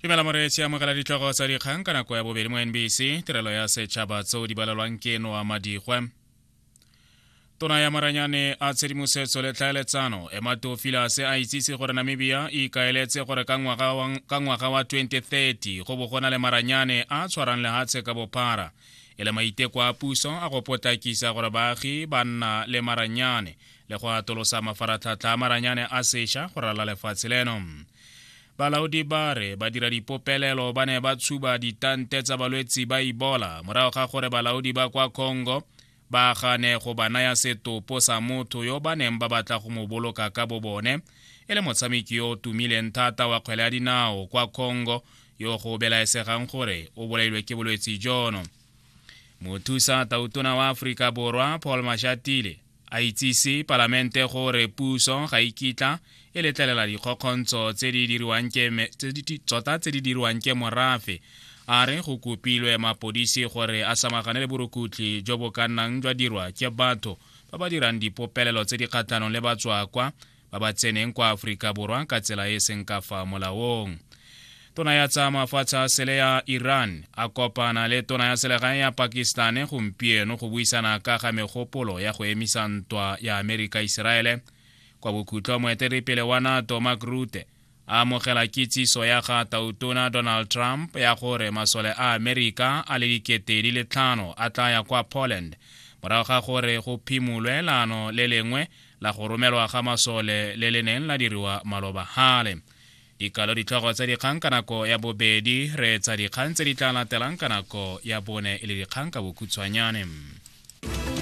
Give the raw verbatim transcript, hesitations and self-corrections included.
Dumela moreetsi, amogela ditlhogo tsa dikgang ka nako ya bobedi mo N B C, tirelo ya setšhaba, tseo di balelwang ke Noa Madigwe. Tona ya maranyane a tshedimosetso le tlhaeletsano, Emma Theofelus, a itsise gore Namibia e ikaeletse gore ka ngwaga wa twenty thirty go bo go na le maranyane a tshwarang lehatshe ka bophara, e le maiteko a puso a go potlakisa gore baagi ba nna le maranyane le go atolosa mafaratlhatlha a maranyane a sešwa go rala lefatshe leno. Balaodi ba re badira dipopelelo ba ne ba tshuba ditante tsa balwetsi ba Ebola morago ga gore balaodi ba kwa Congo ba gane go ba naya setopo sa motho yo ba neng ba batla go mo boloka ka bo bone, e le motshameki yo o tumileng thata wa kgwele ya dinao kwa Congo yo go belaesegang gore o bolailwe ke bolwetsi jono. Mothusa tautona wa Aforika Borwa, Paul Mashatile, a itsise palamente gore puso ga ikitla e letlelela dikgokgontsho tse di diriwang ke tota tse di diriwang ke morafe. A re go kopilwe mapodisi gore a samagane le borukutlhi jo bo ka nnang jwa dirwa ke batho ba ba dirang dipopelelo tse di kgatlhanong le batswakwa ba ba tseneng kwa Aforika Borwa ka tsela e e seng ka fa molaong. Tona ya tsa mafatshe a sele ya Iran a kopana le tona ya selegae ya Pakistan gompieno go buisana ka ga megopolo ya go emisa ntwa ya Amerika Iseraele. Kwa bokhutlo, moeteledipele wa NATO, Mark Rutte, a amogela kitsiso ya ga tautona Donald Trump ya gore masole a Amerika a le dikete di le tlhano a tla ya kwa Poland morago ga gore go phimolwe leano le lengwe la go romelwa ga masole le le neng la diriwa maloba gale. Dikalo ditlhogo tsa dikgang ka nako ya bobedi. Re tsa dikgang tse di tla latelang ka nako ya bone e le dikgang ka bokhutshwanyane.